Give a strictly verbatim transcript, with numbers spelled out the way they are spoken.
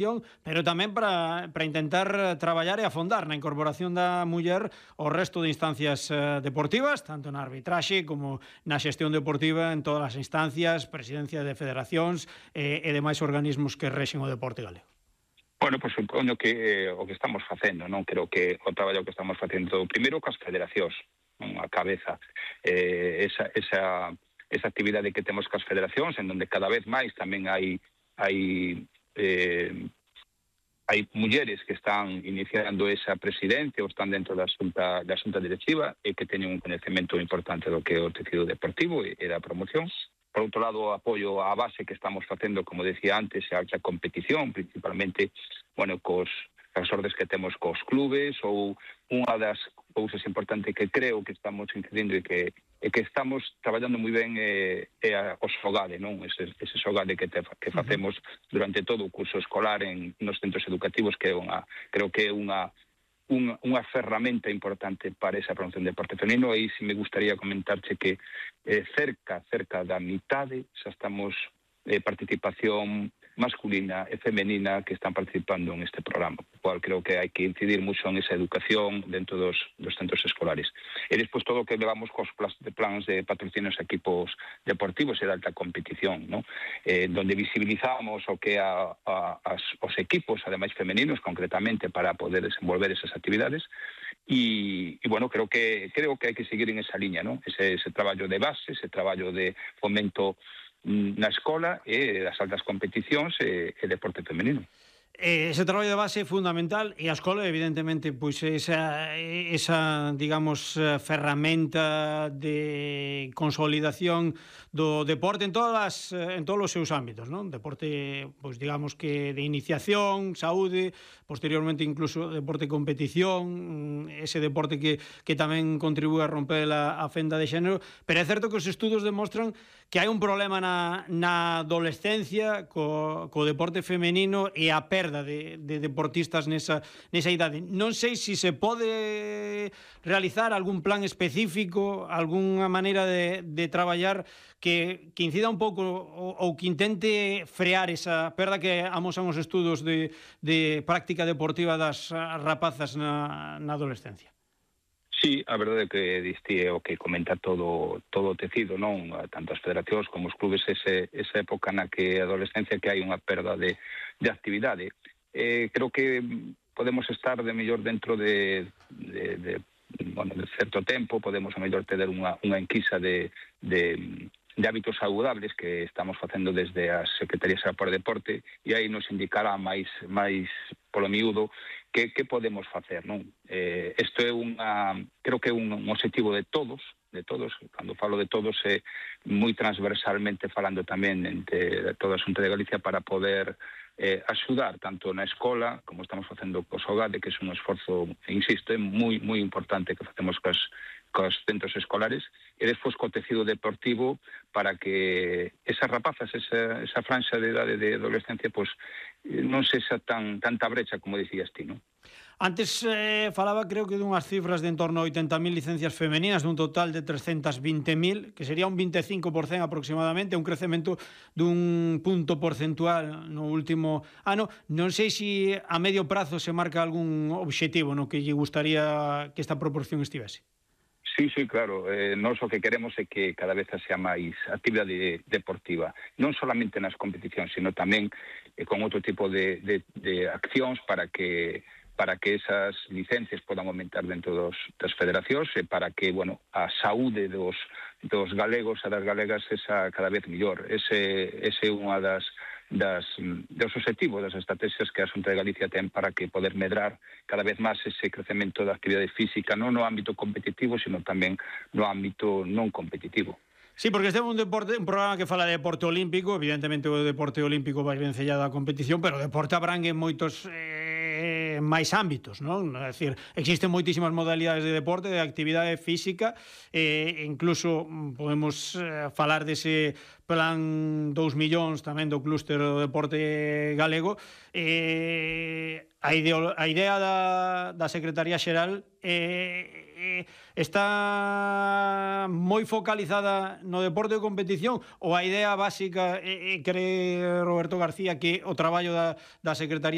pero tamén para, para intentar traballar e afondar na incorporación da muller ao resto de instancias eh, deportivas, tanto na arbitraxe como na xestión deportiva en todas as instancias, presidencia de federacións eh, e demais organismos que rexen o deporte galego. Bueno, pois pues, supoño que eh, o que estamos facendo, non? Creo que o traballo que estamos facendo primeiro cas federacións, non? A cabeza, eh, esa, esa, esa actividade que temos cas federacións, en donde cada vez máis tamén hai hai eh, hai mulleres que están iniciando esa presidencia ou están dentro da xunta, da xunta directiva e que teñen un conhecemento importante do que é o tecido deportivo e, e da promoción. Por outro lado, apoio á base que estamos facendo, como decía antes, a alta competición, principalmente, bueno, cos as ordes que temos cos clubes, ou unha das cousas importantes que creo que estamos incidindo e que e que estamos traballando moi ben é, é a, o xogade, non? Ese, ese xogade que, te, que facemos durante todo o curso escolar en nos centros educativos, que é unha, creo que é unha unha, unha ferramenta importante para esa promoción de deporte femenino. E si me gustaría comentarche que eh, cerca, cerca da mitade xa estamos eh, participación masculina e femenina que están participando en este programa, por cual creo que hai que incidir mucho en esa educación dentro dos, dos centros escolares. E despois todo o que levamos cos plans de patrocinios a equipos deportivos e de alta competición, ¿no? Eh, donde visibilizamos o que a, a, as, os equipos, ademais femeninos, concretamente, para poder desenvolver esas actividades. E, e bueno, creo que creo que hai que seguir en esa liña, ¿no? Ese, ese traballo de base, ese traballo de fomento na escola e das altas competicións e, e deporte femenino. Ese traballo de base é fundamental e a escola, evidentemente, pois esa, esa digamos, ferramenta de consolidación do deporte en todas en todos os seus ámbitos, non? Deporte, pois digamos que de iniciación, saúde, posteriormente incluso deporte de competición, ese deporte que, que tamén contribúe a romper a, a fenda de xénero, pero é certo que os estudos demostran que hai un problema na, na adolescencia co, co deporte femenino e a perda De, de deportistas nesa, nesa idade. Non sei se se pode realizar algún plan específico, algunha maneira de, de traballar que, que incida un pouco ou, ou que intente frear esa perda que amosan os estudos de, de práctica deportiva das rapazas na, na adolescencia. Sí, a verdade é que diste o que comenta todo todo o tecido, non? Tanto as federacións como os clubes, ese, esa época na que a adolescencia que hai unha perda de, de actividade. Eh, creo que podemos estar de mellor dentro de, de, de, bueno, de certo tempo, podemos a mellor ter unha, unha enquisa de, de, de hábitos saludables que estamos facendo desde as Secretarías para o Deporte, e aí nos indicará máis, máis polo miúdo que, que podemos facer, non? Eh, isto é unha, creo que é un, un objetivo de todos, de todos, cando falo de todos é moi transversalmente falando tamén entre toda a Xunta de Galicia para poder eh, axudar tanto na escola como estamos facendo co Xogade, que é un esforzo, insisto, é moi moi importante que facemos cos, cos centros escolares, e despois co tecido deportivo para que esas rapazas, esa, esa franxa de idade de adolescencia, pois non sexa tan tanta brecha como dicías ti, non? Antes eh, falaba, creo que dunhas cifras de en torno a oitenta mil licencias femeninas dun total de trescentas vinte mil, que sería un vinte e cinco por cento aproximadamente, un crecemento dun punto porcentual no último ano. Non sei se a medio prazo se marca algún obxectivo no que lle gustaría que esta proporción estivese. Sí, sí, claro. Eh, nós o que queremos é que cada vez sea máis actividade deportiva, non solamente nas competicións, sino tamén eh, con outro tipo de, de, de accións para que para que esas licencias podan aumentar dentro dos, das federacións e para que, bueno, a saúde dos, dos galegos e das galegas esa cada vez mellor. Ese, ese é unha das, das, dos objetivos, das estrategias que a Xunta de Galicia ten para que poder medrar cada vez máis ese crecemento da actividade física, non no ámbito competitivo, sino tamén no ámbito non competitivo. Sí, porque este é un deporte, un programa que fala de deporte olímpico, evidentemente o deporte olímpico vai vencellado á competición, pero o deporte abrangue moitos eh, máis ámbitos, non? É dicir, existen moitísimas modalidades de deporte, de actividade física, e eh, incluso podemos eh, falar dese plan dous millóns tamén do clúster do deporte galego. Eh, a, ideo, a idea da, da Secretaría Xeral eh, eh, está moi focalizada no deporte de competición, ou a idea básica eh, eh, cree Roberto García que o traballo da, da Secretaría